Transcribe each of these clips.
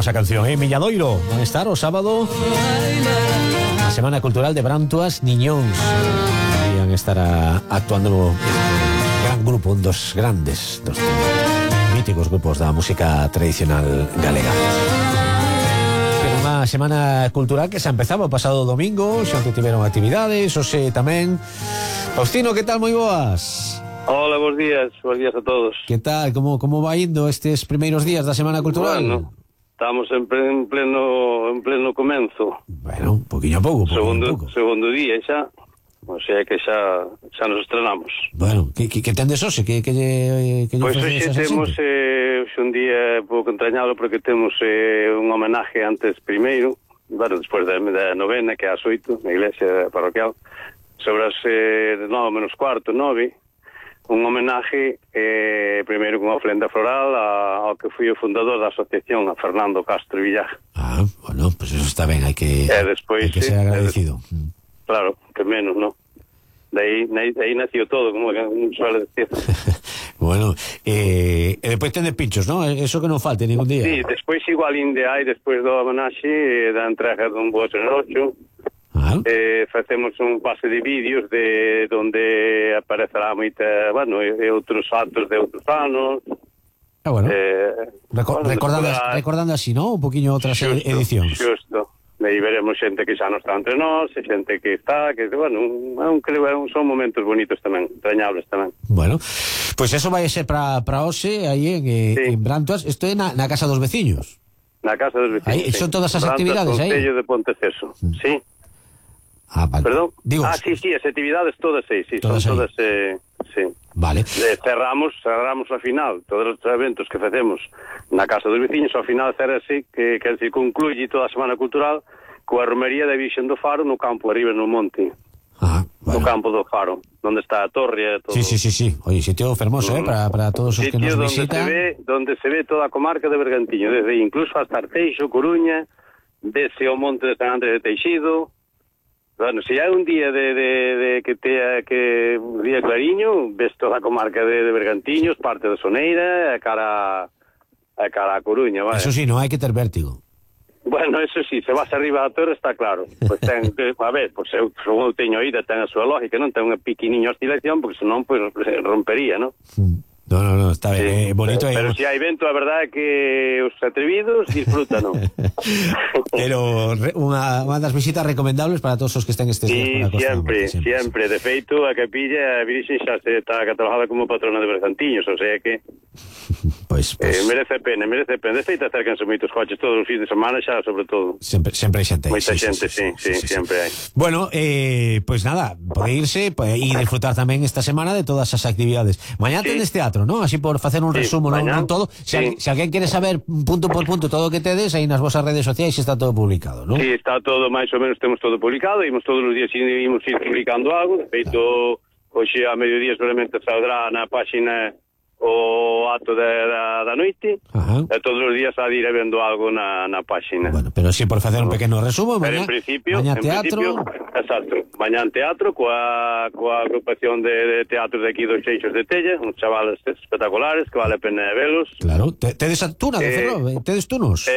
esa canción, Milladoiro. Van a estar o sábado a Semana Cultural de Brantuas Niñóns. Van a estar actuando un gran grupo, un dos grandes, dos míticos grupos da música tradicional galega. Pero unha semana cultural que se empezaba o pasado domingo, xa tiveron actividades, hoxe tamén. Faustino, que tal? Moi boas. Hola, bons días a todos. Que tal? Como vai indo estes primeiros días da Semana Cultural? Bueno, estamos en pleno comenzo. Bueno, poquinho a pouco, segundo día xa, o sea que xa nos estrenamos. Bueno, que tendes hoxe? Que pois hoxe temos un día pouco entrañado porque temos un homenaje antes primeiro, bueno, despois da novena, que é ás 8, na iglesia parroquial, sobre as 9 menos cuarto, 9, un homenaje primeiro con ofrenda floral ao que foi o fundador da asociación, a Fernando Castro Villar. Bueno, pues eso está ben, hai que ser agradecido. Claro, que menos, ¿no? De aí nació todo, como suele decir. Bueno, e despois tende pinchos, ¿no? Eso que non falte ningún día. Sí, despois igual inde hai, despois do homenaxe da entrega dun bo serrocho. Facemos un pase de vídeos de donde aparecerá moita, bueno, e outros actos de outros anos. Bueno, recordando así, ¿no? Un poquinho outras edicións. Xusto. Aí veremos xente que xa non está entre nós, xente que está, que, bueno, son momentos bonitos tamén, entrañables tamén. Bueno, pois eso vai ser para hoxe, aí en Brantuas. Isto é na Casa dos Veciños. Na Casa dos Veciños, aí, son todas as actividades aí? Concello de Ponteceso, sí. Vale. Perdón? Digo, sí, as actividades todas aí, sí, todas son todas, sí. Vale. Cerramos a final, todos os eventos que facemos na Casa dos Veciños, ao final cerrase, que se concluye toda a Semana Cultural coa romería da Virxen do Faro no campo arriba no monte. Bueno. No campo do Faro, onde está a torre e todo. Sí. Oye, sitio fermoso, para todos os que nos visitan. Donde se ve toda a comarca de Bergantiño, desde incluso hasta Arteixo, Coruña, desde o monte de San Andrés de Teixido. Bueno, se hai un día de que un día clariño, ves toda a comarca de Bergantiños, parte de Soneira, a cara a Coruña, vale. Eso sí, non hai que ter vértigo. Bueno, eso sí, se vas arriba da torre está claro. Pois ten que, a ver, pois eu teño ida, ten a súa lógica, non ten unha piquiniña oscilación, porque senón pois rompería, non? No, está ben, sí, bonito. Pero se hai vento, a verdade é que os atrevidos disfrutan, non? Pero unha das visitas recomendables para todos os que estén estes días por a costa. Sempre. De feito, a capilla, a Virxen xa está catalogada como patrona de Bergantiños, o sea que Pois merece pena. De feito, acércanse moitos coches todos os fins de semana xa, sobre todo. Sempre hai xente. Moita xente, sí, sempre hai. Bueno, pois nada, pode irse e disfrutar tamén esta semana de todas as actividades. Mañá tendes teatro, ¿no? Así por facer un resumo, non todo. Se alguén quere saber punto por punto todo o que tedes, aí nas vosas redes sociais está todo publicado, ¿no? Sí, está todo, máis ou menos temos todo publicado, imos todos os días ir publicando algo. De feito, hoxe a mediodía solamente saldrá na páxina o acto da noite. E todos os días a ir vendo algo na páxina. Bueno, pero si por facer un pequeno resumo, pero en principio teatro. Exacto, mañá teatro coa agrupación de teatro de aquí dos Xeixos de Tella, uns chavales espectaculares que vale a pena velos. Claro, tedes a tuna de Ferrol, tedes tunos.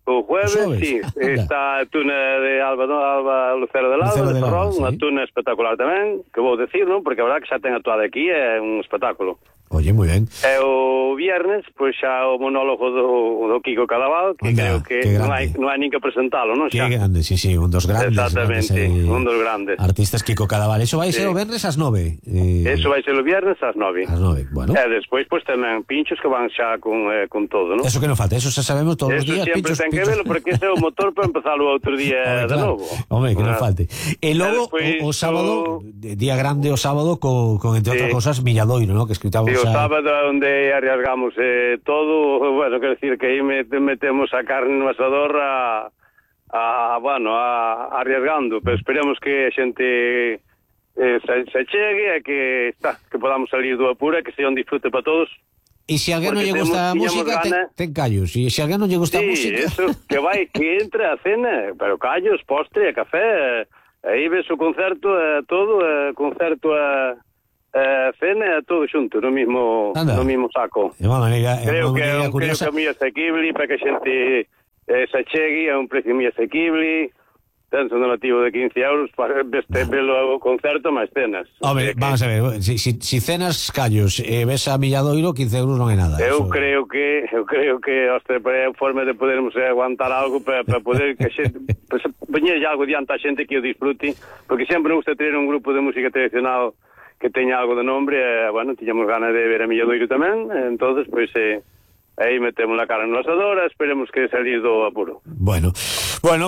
O jueves, sí, está a tuna de Alba Lucero de Ferrol, unha tuna espectacular tamén, que vou decir, non? Porque a verdade que xa ten actuado aquí, é un espectáculo. Oye, moi ben. E o viernes, pois xa o monólogo do Kiko Cadaval, que creo que non hai nin que presentalo, non? Que grande, sí, un dos grandes. Exactamente, un dos grandes. Artistas Kiko Cadaval. Eso vai ser o viernes ás 9. Eso vai ser o viernes ás 9. Ás 9, bueno. E despois, pois, tamén pinchos que van xa con todo, non? Eso que non falta, eso xa sabemos todos os días. Eso sempre ten que verlo, porque ese é o motor para empezalo outro día de novo. Hombre, que non falte. E logo, o sábado, día grande o sábado, con entre outras cosas, Milladoiro, ¿no? Que escritamos o sábado onde arriesgamos todo, bueno, quero decir que aí metemos a carne no asador arriesgando, pero esperemos que a xente se chegue e que podamos salir do apuro e que sea un disfrute para todos. E se alguén non lle gusta a música, ten callos. E se alguén non lle gusta a música... Sí, eso, que entre a cena, pero callos, postre, café, aí ves o concerto, todo, concerto cena todo xunto no mismo saco. De unha maneira creo que é un camiño asequible para que a xente se chegue a un precio moi asequible, ten un donativo de 15 euros para velo o concerto máis cenas. Hombre, vamos a ver, si cenas callos e ves a Milladoiro, 15 euros non é nada. Eu creo que hostia, é forma de podermos aguantar algo para poder que a xente poñer algo diante a xente que o disfrute, porque sempre nos gusta ter un grupo de música tradicional que teña algo de nombre, bueno, tiñamos ganas de ver a Milladoiro tamén, entonces, pois, aí metemos la cara no asador, esperemos que salir do apuro. Bueno,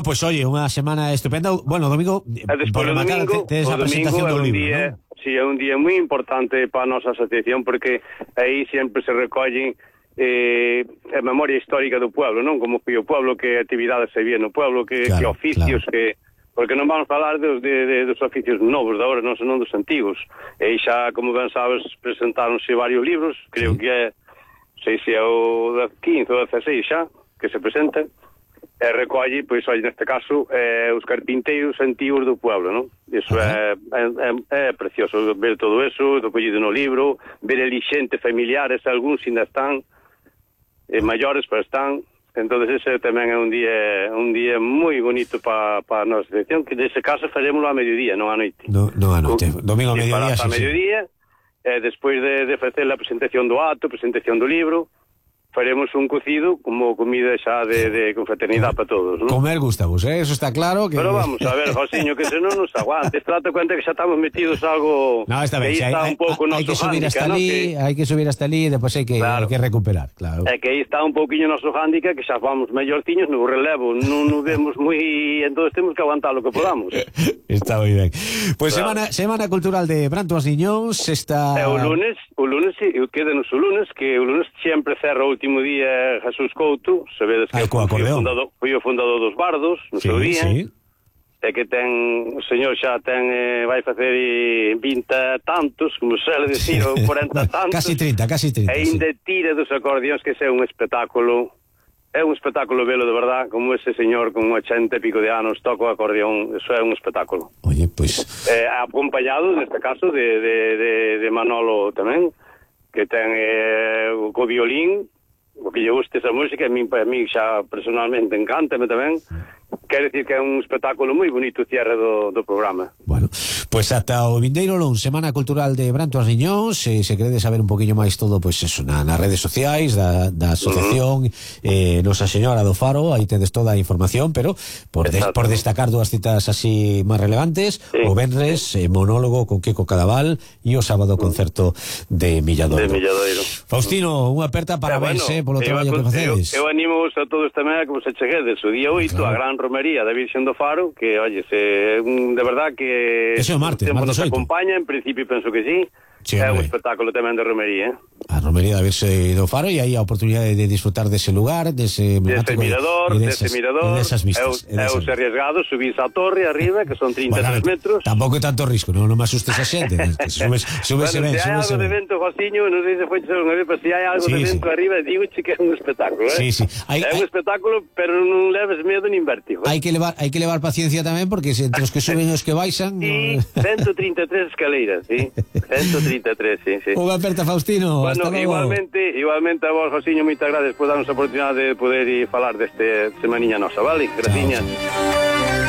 pues oye, unha semana estupenda. Bueno, domingo, despois o domingo, tes a presentación do libro, día, ¿no? Sí, é un día moi importante para a nosa asociación, porque aí sempre se recollen a memoria histórica do pueblo, non? Como foi o pueblo, que actividades se vía no pueblo, que oficios, que... Porque non vamos falar dos oficios novos de agora, non son dos antigos. E xa, como ben sabes, presentáronse varios libros, creo que é, sei se é o 15 ou 16 xa, que se presenta, e recolle, pois, olha, neste caso, os carpinteiros antigos do pueblo, non? Iso é precioso ver todo eso, recollido no libro, ver ali xente familiares, algúns ainda están, maiores, pero están. Entonces ese tamén é un día moi bonito para a nosa sección, que nese caso faremoslo a mediodía, non a noite. No a noite, domingo a mediodía, sí. A mediodía, despois de facer a presentación do acto, presentación do libro, faremos un cocido como comida xa de confraternidade para todos, non? Comer gustamos, eso está claro que... Pero vamos a ver, Josiño, que se non nos aguante, trata cuenta que xa estamos metidos algo... No, está ben, está un pouco hai que subir hasta ali, hai que subir hasta ali e depois hai que recuperar, claro. É que aí está un pouquiño noso hándicap, que xa vamos mellortiños no relevo, non nos vemos moi... Entonces temos que aguantar lo que podamos. Está moi ben. Pois semana cultural de Brantoas Niñóns, está... O lunes, quédenos o lunes, que o lunes sempre cerra o último día Jesús Couto, sabedes que foi o fundador dos Bardos no seu día, e que ten, o señor xa ten, vai facer 20 tantos, como se le decir, ou 40 tantos, casi 30, e ainda tira dos acordeóns, que é un espectáculo velo de verdad, como ese señor con 80 e pico de anos toca o acordeón, eso é un espectáculo. Oye, pois... acompañado, neste caso, de Manolo tamén, que ten o violín, o que lle guste esa música, a mí xa personalmente encántame tamén. Quer decir que é un espectáculo moi bonito o cierre do programa. Bueno, pois ata o vindeiro luns, Semana Cultural de Brantoas Niñóns, se queredes saber un poquinho máis todo, pois eso, nas redes sociais da asociación Nosa Señora do Faro, aí tedes toda a información, pero por destacar dúas citas así máis relevantes, o venres, monólogo con Kiko Cadaval, e o sábado concerto de Milladoiro. Faustino, unha aperta parabéns, polo traballo que facedes. Eu animo a todos tamén a que vos acheguedes o día 8, a gran romería da Virxen do Faro, que, oye, de verdad que ese é o martes nos acompaña, en principio penso que sí. É un espectáculo tamén de romería, a romería da Virxe do Faro, e aí a oportunidade de disfrutar dese lugar, dese mirador, desas vistas. Eu se arriesgado, subís a torre arriba, que son 33 metros. Tampouco é tanto risco, non me asustes a xente. Súbese ben, se hai algo de vento, Josiño, non sei se foi unha vez, pero se hai algo de vento arriba, digo que é un espectáculo, Sí. É un espectáculo, pero non leves medo nin vértigo. Hai que levar paciencia tamén, porque entre os que suben e os que baixan... Sí, 133 escaleiras, sí. 133, sí. Unha aperta, Faustino. Bueno, igualmente a vos, Josiño, moitas gracias por darnos a oportunidade de poder falar deste semaniña nosa, vale? Graciñas.